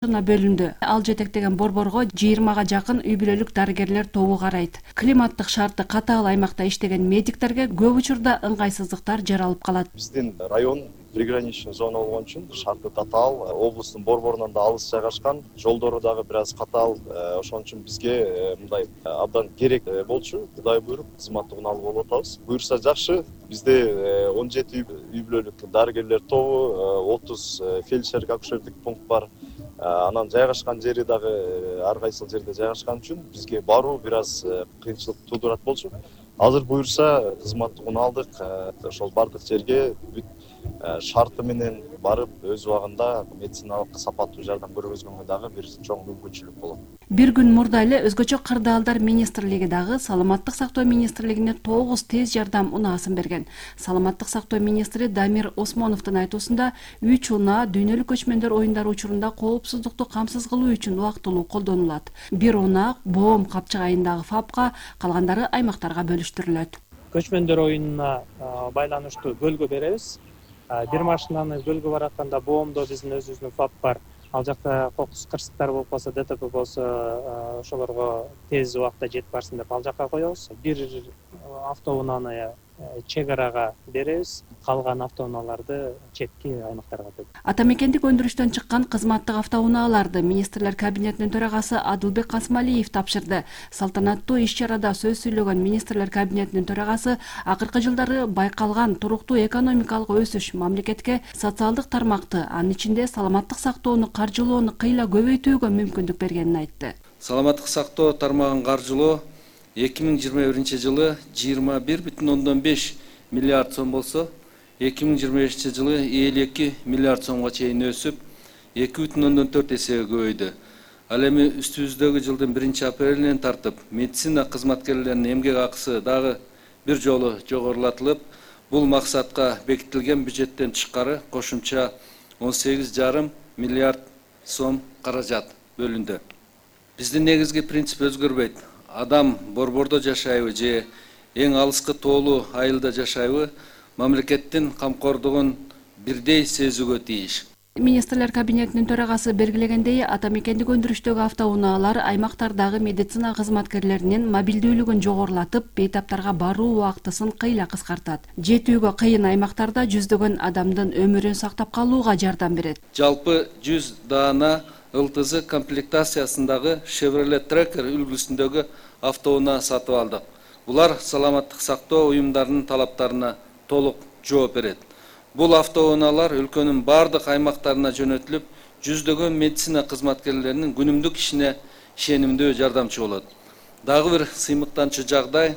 бөлүндү. Ал жетектеген борборго 20га жакын үй бүлөлүк дарыгерлер тобу карайт. Климаттык шарты катаал аймакта иштеген медиктерге көп учурда ыңгайсыздыктар жаралып калат. Биздин район приграничный зона болгон үчүн шарты татаал, облустун борборунан да алыс жайгашкан, жолдору дагы бир аз катаал. Ошон үчүн бизге мындай абдан керек болчу. Кудай буйруп, кызматтыгын алып болуп атабыз. Буюрса жакшы. Бизде 17 үй бүлөлүк дарыгерлер тобу, 30 фельдшерлик акушерлик пункт бар. Анан жайгашкан жери дагы ар кайсыл жерде жайгашкан үчүн бизге баруу бир аз кыйынчылык туудурат болчу. Азыр буюрса кызматтыгын алдык. Ошол бардык жерге шарты менен барып өз убагында медициналык сапаттуу жардам көргөзгөнгө дагы бир чоң мүмкүнчүлүк болот. Бир күн мурда эле өзгөчө кырдаалдар министрлиги дагы Саламаттык сактоо министрлигине 9 тез жардам унаасын берген. Саламаттык сактоо министри Дамир Осмоновдун айтуусунда 3 унаа дүйнөлүк көчмөндөр оюндары учурунда коопсуздукту камсыз кылуу үчүн убактылуу колдонулат. Бир унаа Боом капчыгайындагы ФАПка, калгандары аймактарга бөлүштүрүлөт. Көчмөндөр оюнуна байланыштуу бөлгө беребиз. Бир машинаны бөлгө баратканда Боомдо биздин өзүбүздүн ФАП бар. Ал жакта кокус кырсыктар болуп калса, ДТП болсо, ошолорго тез убакта жетип барсын деп ал жакка коебуз. Бир автоунааны чек арага беребиз. Калган автоунааларды четки аймактарга беребиз. Ата мекендик өндүрүштөн чыккан кызматтык автоунааларды министрлер кабинетинин төрагасы Адылбек Касымалиев тапшырды. Салтанаттуу иш-чарада сөз сүйлөгөн министрлер кабинетинин төрагасы акыркы жылдары байкалган туруктуу экономикалык өсүш мамлекетке социалдык тармакты, анын ичинде саламаттык сактоону каржылоону кыйла көбөйтүүгө мүмкүндүк бергенин айтты. Саламаттык сактоо тармагын каржылоо 2021 жылы 21,5 миллиард сом болсо, 2025 жылы 52 миллиард сомго чейин өсүп, 2,4 эсеге көбөйдү. Ал эми үстүбүздөгү жылдын 1-апрелинен тартып, медицина кызматкерлеринин эмгек акысы дагы бир жолу жогорулатылып, бул максатка бекитилген бюджеттен тышкары кошумча 18,5 миллиард сом каражат бөлүндү. Биздин негизги принцип өзгөрбөйт. Адам борбордо жашайбы же эң алыскы тоолуу айылда жашайбы, мамлекеттин камкордугун бирдей сезүүгө тийиш. Министрлер кабинетинин төрагасы белгилегендей, ата мекендик өндүрүштөгү автоунаалар аймактардагы медицина кызматкерлеринин мобилдүүлүгүн жогорулатып, бейтаптарга баруу убактысын кыйла кыскартат. Жетүүгө кыйын аймактарда жүздөгөн адамдын өмүрүн сактап калууга жардам берет. Жалпы 100 даана ЛТЗ комплектациясындагы Chevrolet Tracker үлгүсүндөгү автоунаа сатып алдык. Булар саламаттык сактоо уюмдарынын талаптарына толук жооп берет. Бул автоунаалар өлкөнүн бардык аймактарына жөнөтүлүп, жүздөгөн медицина кызматкерлеринин күнүмдүк ишине ишенимдүү жардамчы болот. Дагы бир сыймыктанчу жагдай,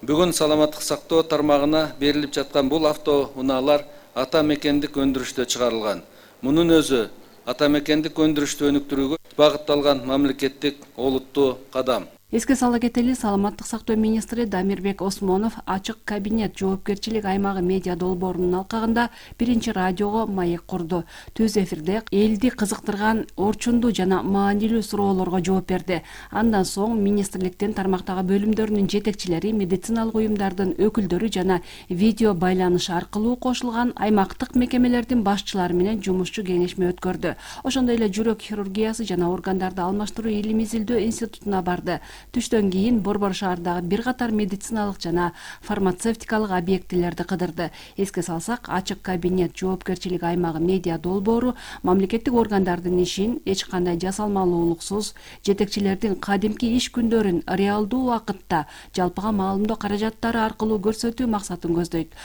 бүгүн саламаттык сактоо тармагына берилип жаткан бул автоунаалар ата мекендик өндүрүштө чыгарылган. Мунун өзү ата мекендик өндүрүштү өнүктүрүүгө багытталган мамлекеттик олуттуу кадам. Эске сала кетели, саламаттык сактоо министри Дамирбек Осмонов ачык кабинет жоопкерчилик аймагы медиа долбоорунун алкагында биринчи радиого маек курду. Түз эфирде элди кызыктырган орчундуу жана маанилүү суроолорго жооп берди. Андан соң министрликтин тармактагы бөлүмдөрүнүн жетекчилери, медициналык уюмдардын өкүлдөрү жана видео байланыш аркылуу кошулган аймактык мекемелердин башчылары менен жумушчу кеңешме өткөрдү. Ошондой эле жүрөк хирургиясы жана органдарды алмаштыруу илим изилдөө институтуна барды. Түштөн кийин борбор шаардагы бир катар медициналык жана фармацевтикалык объектилерди кыдырды. Эске салсак, ачык кабинет жоопкерчилик аймагы медиа долбоору мамлекеттик органдардын ишин эч кандай жасалмалуулуксуз, жетекчилердин кадимки иш күндөрүн реалдуу убакытта жалпыга маалымдоо каражаттары аркылуу көрсөтүү максатын көздөйт.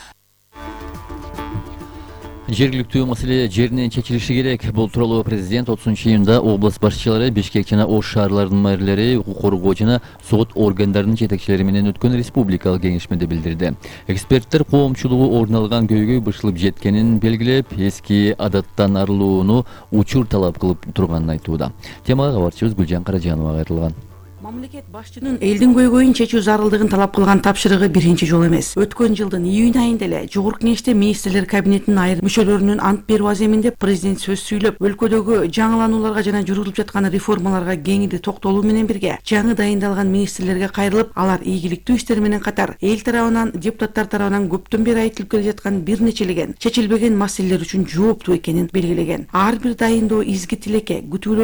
Жергиликтүү маселе жеринен чечилиши керек. Бул тууралуу президент 30-июнда область башчылары, Бишкек жана Ош шаарларынын мэрлери, укук коргоо жана сот органдарынын жетекчилери менен өткөн республикалык кеңешмеде билдирди. Эксперттер коомчулугу орун алган көйгөй бышылып жеткенин белгилеп, эски адаттан арылууну учур талап кылып турганын айтууда. Темага кабарчыбыз Гүлжан Каражанова кайрылган. Мамлекет башчынын элдин көйгөйүн чечүү зарылдыгын талап кылган тапшырыгы биринчи жолу эмес. Өткөн жылдын июнь айында эле Жогорку Кеңеште министрлер кабинетинин айрым мүчөлөрүнүн ант берүү аземинде президент сөз сүйлөп, өлкөдөгү жаңыланууларга жана жүргүзүлүп жаткан реформаларга кеңири токтолуу менен бирге жаңы дайындалган министрлерге кайрылып, алар ийгиликтүү иштер менен катар эл тарабынан, депутаттар тарабынан көптөн бери айтылып келе жаткан бир нечелеген чечилбеген маселелер үчүн жооптуу экенин белгилеген. Ар бир дайындоо изги тилекке, күтүүлөр